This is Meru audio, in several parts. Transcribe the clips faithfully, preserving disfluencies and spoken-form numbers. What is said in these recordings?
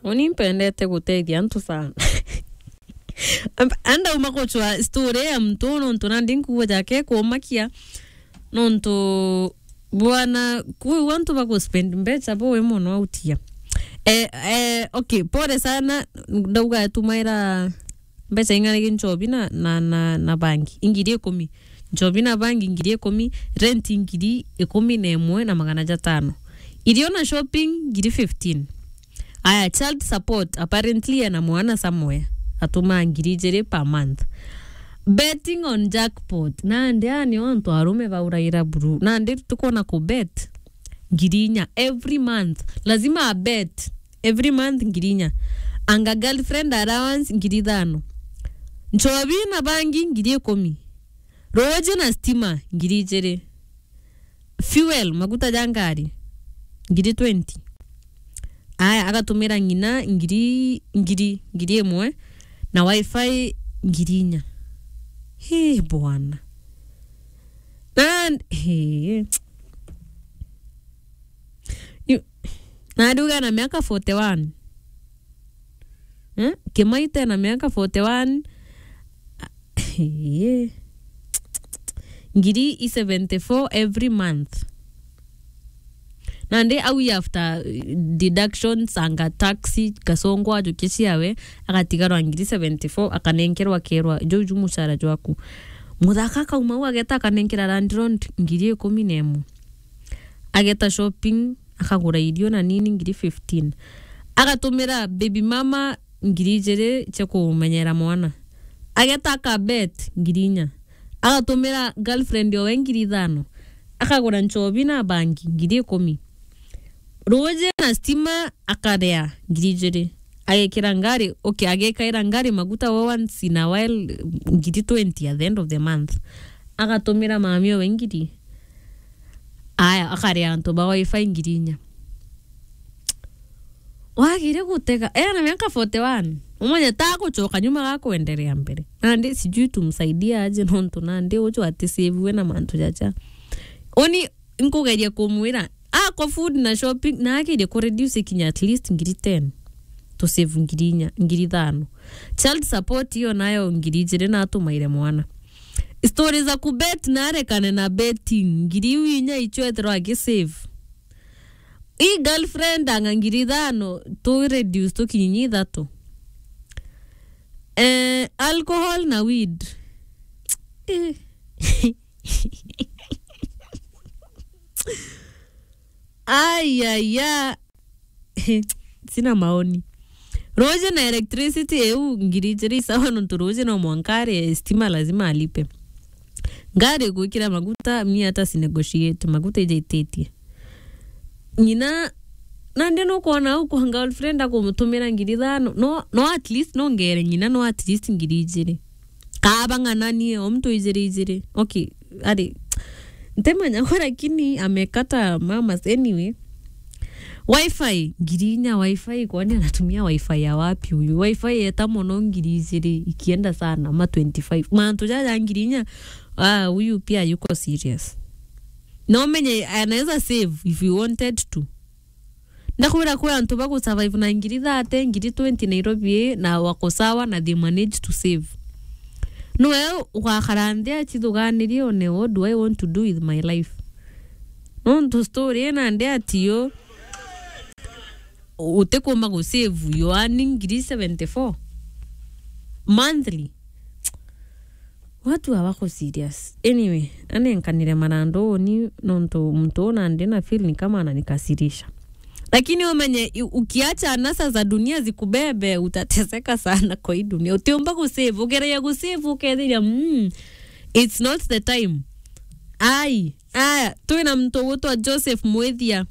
Uni mpendete gutethia antu sana. Anda uma kuchwa story ya mtu nontu nandi nkuuga jake kumakia nontu bwana kuu antu bakuspend mbecha boe mono autia. Eh, eh, okay, pole sana, ndauga tumaira mbecha ing'ana gi nchobi na, na, na, na bangi ingiri ikumi. Nchobi na bangi ngiri ikumi, rent ngiri ikumi na imwe na magana jatano. Irio na shopping ngiri fifteen. Aya, child support, apparently ena mwana somewhere, atumaa ngiri ijiri per month. Betting on jackpot, nandi aya nio antu arume bauraira buru. Nandi tukwona ku bet ngiri inya every month. Lazima a bet every month ngiri inya. Anga girlfriend allowance ngiri ithano. Nchobi na bangi ngiri ikumi. Ruuji na stima, ngiri ijiri. Fuel, maguta ja ngari, ngiri twenty. Aya, agatumira ng'ina ngiri, ngiri, ngiri imwe, na wifi ngiri inya. Hii, bwana. Na, hii. Yu-, na nduga na miaka forty-one. Eh? Kimaite na miaka forty-one. Eh. Ngiri i seventy-four every month. Nandi au after, eh, deductions anga taxi, kasongo ajukia ciawe, agatigarwa ngiri seventy-four, akanenkerwa, akerwa, "Jau ju mucara jwaku." Muthaka akauma au ageta akanenkera landlord ngiri ikumi na imwe. Ageta shopping, akagura irio na nini ngiri fifteen. Agatumira baby mama ngiri ijiri cia kumenyera mwana. Ageta akabet ngiri inya. Agatumira girlfriend owe ngiri ithano. Akagura nchobi na bangi ngiri ikumi. Ruuji na stima akaria ngiri ijiri. Agekira ngari, okay, agekaira ngari maguta we once in a while, ngiri twenty at the end of the month. Agatumira mami owe ngiri. Aya, akaria antu ba wifi ngiri inya. Wagire gutega, ena miaka forty-one. Umenye ta gucoka nyuma ga kuenderea mbere. Nandi sijui tumsaidie aje nontu nandi uju atisave na mantu jaja. Uni nkugeria kumwira, ako food na shopping, na agerie ku reduce kinya at least ngiri ten. To save ngiri inya, ngiri ithano. Child support iyo nayo ngiri ijiri na atumaire mwana. Story za kubet na arekane na betting, ngiri iu inya icio ethirwa agisave. I girlfriend anga ngiri ithano, tu reduce tukinyi ithatu. Eh, alcohol na weed. Eh. Ai, ai, ai. Sina maoni. Ruuji na electricity iu ngiri ijiri sawa nontu ruuji no mwanka ari stima lazima alipe. Ngari gwikira maguta, mi hata si negotiate, maguta ijaititie. Ng'ina, nandi nukwona au kwa girlfriend akumutumira ngiri ithano, no, no at least no ngere ng'ina no at least ngiri ijiri. Kaaba ng'ananie, o mtu ijiri ijiri. Okay, ari, ntemanya kwa lakini amekata mamas anyway. Wifi, ngiri inya wifi, kwani anatumia wifi ya wapi huyu? Wifi yeta mono ngiri ijiri, ikienda sana, ma twenty-five. Mantu jaja ngiri inya, ah, huyu pia yuko serious. Na umenye, anaweza save if he wanted to. Ndakwira kwi antu bagu survive na ngiri thirty, ngiri twenty Nairobi ii, na wako sawa na they manage to save. Nwe ugakara nthi achithuganirie one, what do I want to do with my life? Nontu story ii nandi atiyo utikumba gu save, you earning ngiri seventy-four monthly. Watu hawako serious. Anyway, anenkanire marandu uni nontu muntu una ndi na feel ni kama ananikasirisha. Lakini umenye, i-, ukiacha anasa za dunia zikubebe, utateseka sana kwa hii dunia. Utiumba gu save, ugeria gu save, ukethiria, mm, it's not the time. Ai, aya, twina muntu ugwitwa Joseph Mwithia.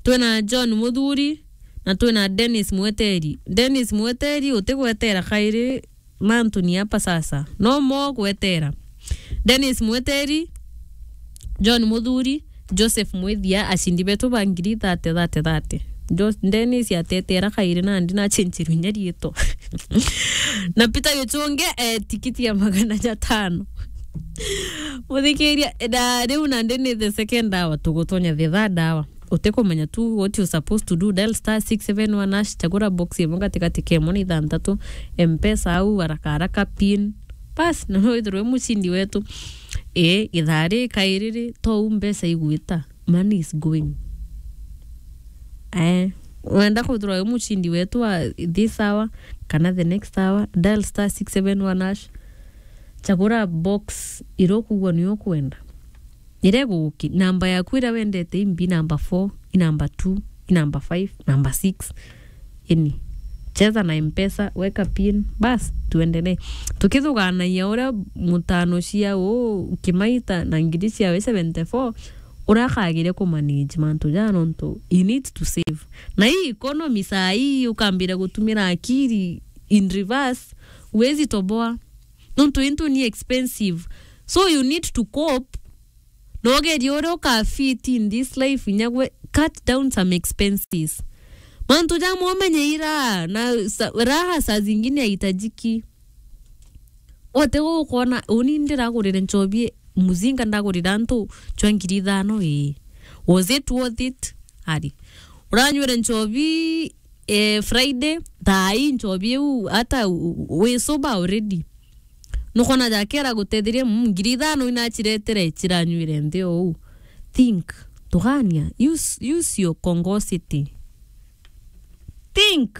Twina John Muthuri, na twina Dennis Mweteri. Dennis Mweteri, utigwetera kairi mantu ni apa sasa. No mo gwetera. Dennis Mweteri, John Muthuri, Joseph Mwithia, acindi betu ba ngiri thirty, thirty, thirty. Jo-, Dennis atetera kairi nandi na achenchirwe inya riitwa. Na Peter Gichunge, eh, tikiti ya magana jatano. Muthikiria, eh, da, riu nandi ni the second hour, tugutonya the third hour. utikumenya tu what you supposed to do, dial star six seven one hash, chagura box imwe gatigati kemwe na ithantatu, mpesa au haraka haraka, pin. Bas, na no withirwe mucindi wetu. Ii, ithaa ri kairiri, tou mbeca igwita, money is going. Eh, wenda kwithirwa wi mucindi wetu wa this hour kana the next hour, dial star six seven one hash, chagura box iria ukugua niyo ukwenda. Iria iguguki-, namba yaku iria wendete imbi, namba four, i namba two, i namba five, namba six. Ini. Cheza na mpesa, weka pin, bas, tuendelee. Tukithuganagia uria mutano cia u Kimaita na ngiri ciawe seventy four, uria akagire kumanage mantu jaa, nontu you need to save. Na hii economy saa hii ukambira gutumira akiri in reverse, uwezi toboa. Nontu into ni expensive. So you need to cope. Na ugerie uria uka fit in this life, inya gwe, cut down some expenses. Mantu jamwe umenye ira, na sa-, raha saa zingine haitajiki. Wote gukona, uni ndiragurire nchobi muzinga, ndagurira antu chwa ngiri ithano, ii. Was it worth it? Ari. Uranywire nchobi, eh, Friday, thaai nchobi iu, hata u-, u-, wi sober already. Nukona jake aragutetheria, mm, ngiri ithano inachiretere chiranywire nthi ou. Think, tugania, use, use your congosity. Think.